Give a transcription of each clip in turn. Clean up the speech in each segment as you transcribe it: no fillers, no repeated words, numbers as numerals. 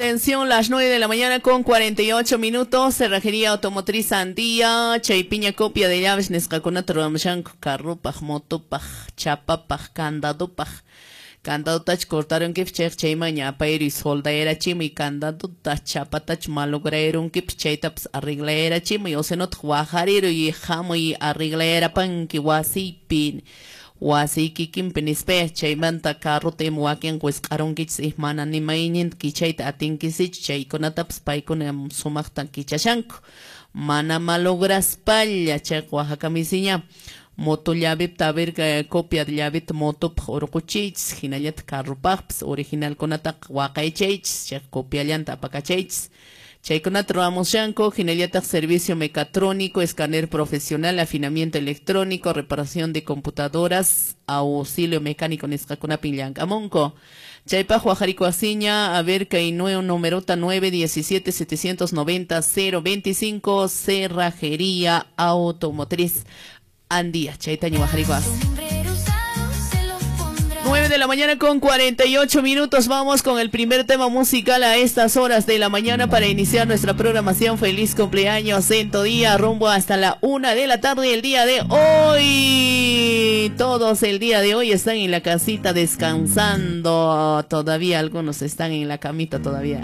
Atención, las 9 de la mañana con 48 minutos. Cerrajería Automotriz Andía, Chaypiña copia de llaves, nisqakunata ruwamushanku, carrupaj, motopaj, chapapaj, candadopaj. Candadotach cortarunkipis chayqa chaymanña apayruy soldayarachimuy candadota, chapatach malograrunkipis chaytapas arreglayarachimuy, o sinotaq waqariruy hamuy arreglayarapanki wasiypi. Wasiykikinpi nispaya chaymanta carrota ima wakinqa wisq'arunkichis mana ni mayninta kichayta atinkisichu chaykunatapas paykuna sumaqta kichashanku mana malograspalla chayqa waqhakamisiña moto llavepta a ver copia de llaveta motopaq urquchiychis hinallataq carropaqpas originalkunataqa waqaychaychis chayqa copiallanta apakachaychis. Chaykunata ruwamushanku, hinallataq servicio mecatrónico, escáner profesional, afinamiento electrónico, reparación de computadoras, auxilio mecánico nisqakunapin llank'amunku. Chaypaq waqharikuwasiña, a ver kay numerota 917 790 025, Cerrajería Automotriz Andía. Chaytaña waqharikuwas. 9 de la mañana con 48 minutos. Vamos con el primer tema musical a estas horas de la mañana para iniciar nuestra programación. Feliz cumpleaños en tu día, rumbo hasta la 1 de la tarde el día de hoy. Todos el día de hoy están en la casita descansando. Todavía algunos están en la camita todavía.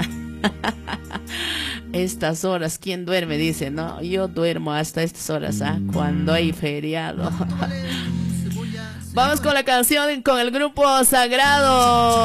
Estas horas, ¿quién duerme? Dice, no, yo duermo hasta estas horas, ¿ah? Cuando hay feriado. Vamos con la canción con el grupo Sagrado.